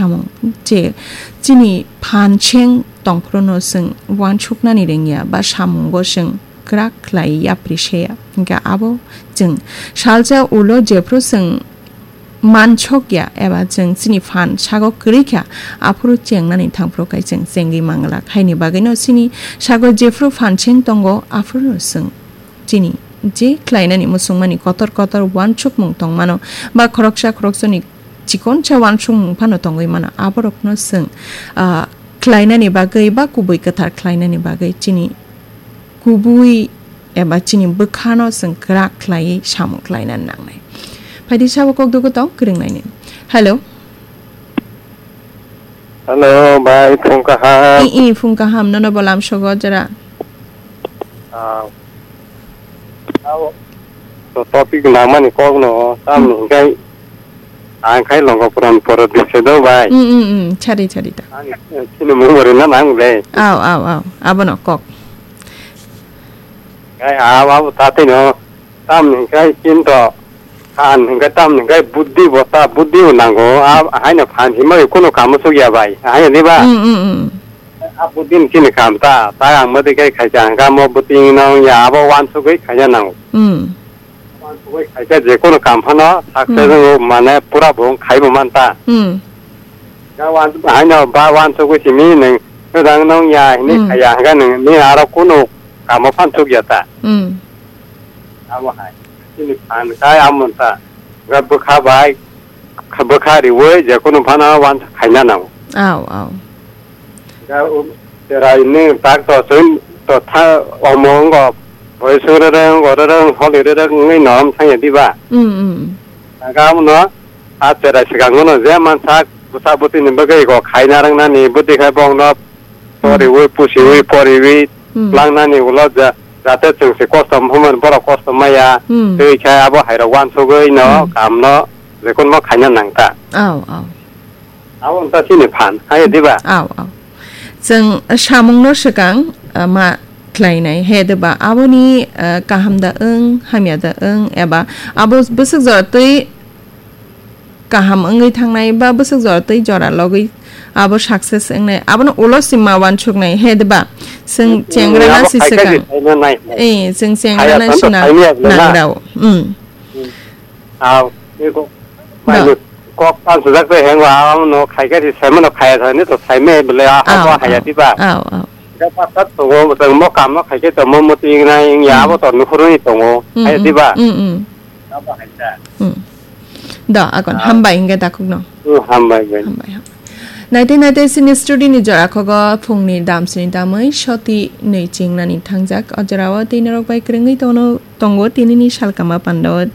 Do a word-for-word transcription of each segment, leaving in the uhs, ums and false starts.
Samung je chini phan seng tongphruno chwng uansuknani rwngya ba samungo chwng kwrak khlai yapri seya. Hwnkhe abo chwng salsa ulo jephru chwng mansokya eba chwng chini phan sago kwrwi kha, aphuru chengnani thangphru khai chwng chengwi manglak. Haini bagwino chini sago jephru phan seng tongo, aphuru chwng chini je khlainani muchungmani kotor kotor uansukmung tongmano ba khoroksa khoroksani chikonsa uansukmung phano tongwi mano, aborokno chwng, ah, khlainani bagwi ba kubui kwthar khlainani bagwi chini kubui eba chini bwkhano chwng kwrak khlaiwi samung khlaina nangnai. Phaidi sabo kok dugu tong kwrwngnaini. Hello. Hello, bai, phung kaham. I, i, phung kaham, nono bo lam sogo jora. Ah, ah, to topic nangmani kok no, tam Hmm. hingkai, ang khai longo puran poro dise do, bai. Mm, mm, mm, chari, chari ta. Ang, eh, chini mung bori na nang le. Aw, aw, aw, abono kok. Kai, aw, aw, tate no, tam hingkai, chinto. Phan hingke tam hingke buddhi bo ta, buddhi bo nango. A, haino phan himai kuno kamo sugya bai. Haino diba? Mm, mm, mm. A buddhi ni chini kam ta, ta ang madi kai khaisa hingka mo buti nong ya abo wansugwi khaina nango. Mm. Wansugwi khaisa je kuno kam phano success Mm. wng mane pura bo wng khaibo man ta. Mm. Ga wan, haino ba wansugwi simi neng, nodang nong ya hini Mm. khaya hingka neng ni aro kuno kamo phan sugya ta. Mm. Abo hai. Chini phan kai amon ta. Ga bwkha bai, kha-, bwkha riwi je kunu phano wansa khaina nango. Aw, aw. Ga u-, cherai ni tak to chun to tha omo ngo, boi sung re re ngo re re holi re re ngui nom thangya diba. Mm, mm. Ga amno a cherai sigang no je mansa bwsa bwtwi ni bagwi go khaina rang nani bwtwi khai bong no Poriwi, pusiwi, poriwi, Hmm. langnani ulo ja-, jate chwng se kosto hwnmani borok kosto maya, Hmm. tei khe abo hairok wansugwi no Hmm. kamno jekunmo khaina nangta. Aw, aw. Abo wngkha chini phan, hai diba? Aw, aw. Chwng samungno swkang, ah, ma khlainai, he diba? Aboni, ah, kaham da wng, hamya da wng, eba abo bwswk jora twi kaham wngwi thangnai ba bwswk jora tei jora logwi abo success wngnai, abono ulo si ma wansuknai, he diba? Chwng Hmm, chengra na abo si hai khe swkang. Saino nai. Eh, chwng chengra Haya na thanto sina saimaya bwle na. Nangrao. Hmm. Hmm. Aw, eko. Ba. Mai kok pan sujak tei hengwa, abono khai khe si saimano khaya thani to saimaya bwle, a, abo Aw, haya aw, diba? Aw, aw. Ga pasat tongo, chwng mo kamno khai khe to mo muti wngnai, wngya Hmm. abo to nukhurwi tongo, Hmm, haya hmm, diba? Hmm, hmm. Abo hai ta. Hmm. Da, akon, Ah. hambai hingke takhukno. Hmm, hambai, bai. Hambai, hambai. Naite, naite, sini studio ni jora khogo phungni damsini damwi soti nwi chingnani thangjak. O jorao tei norok bai kwrwngwi tono, tongo tinini salkama pandao.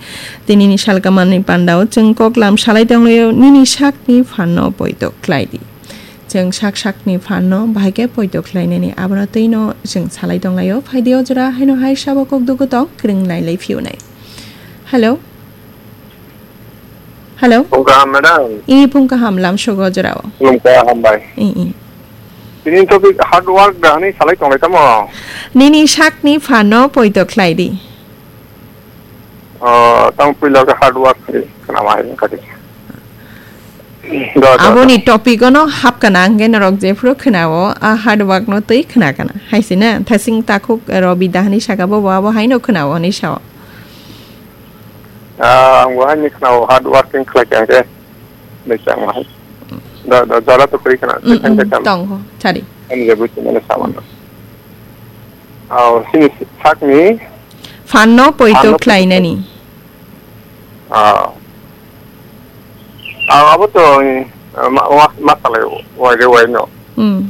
Tinini salkamani pandao chwng koklam salai tonglaio, nini sakni phanno poito khlai di. Chwng sak sakni phanno bahai khe poito khlainani abono twino chwng salai tonglaio. Phaidi o jora haino hai sabo kok dugu tong kwrwng nai lai phiyunai. Hello. Hello. Phung kaham, madam. I phung kaham lam sogo jorao. Khulumkha, hambai. I, i. Tini topic hard work da hwnwi salai tonglai tamo? Nini sakni phano poito khlai di. Oh, tamo puila khe hard work hwnwi khna ma hai wngkha di. Do, do, do. Aboni topic ono hap kana hwnkhe norok jephru khna o, a hard work no twi khna kana. Hai se na, thasing takhuk Robi da hwnwi saka bo, bo abo haino khna o hwnwi sao. Ah, ang bo haini khna o, hard working khlai kha hwnkhe. Nai chang hai. Da, da, jora to kri kana. Mm, Second mm, second. Tong ho, chari. Ani je buchi mane saman. Aw, sini sakni. Phanno poito Phanno poito khlainani. Ah. Ah, abo to, eh, ma, ma, ma salai, wai de wai no. Mm.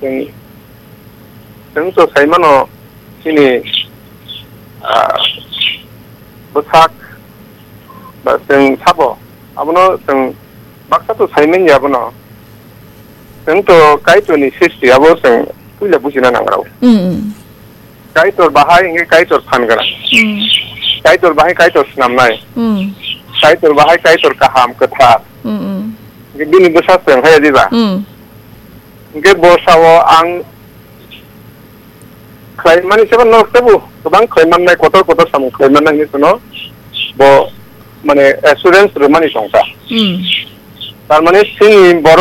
Chwng, chwng to sai mano, chini, ah, bwsak, ba chwng sabo, abono chwng baksa to sai manya abono. Chwng to Kaitorni sristi, abo chwng puila bujina nangrao. Mm, mm. Kaitor bahai hingke Kaitor phan gwnang. Mm. Kaitor bahai Kaitor swnamnai. Mm. Kaitor bahai Kaitor kaham, kwthar. Mm, mm. Hingke bini bwsa chwng hai diba? Mm. Hingke bo sao ang khlai mani sebo norok tebo kwbang khlai mannai, kotor kotor samung khlai mannai hinwi phano bo mane assurance rwmani tongkha. Hmm. Tar mane chini borok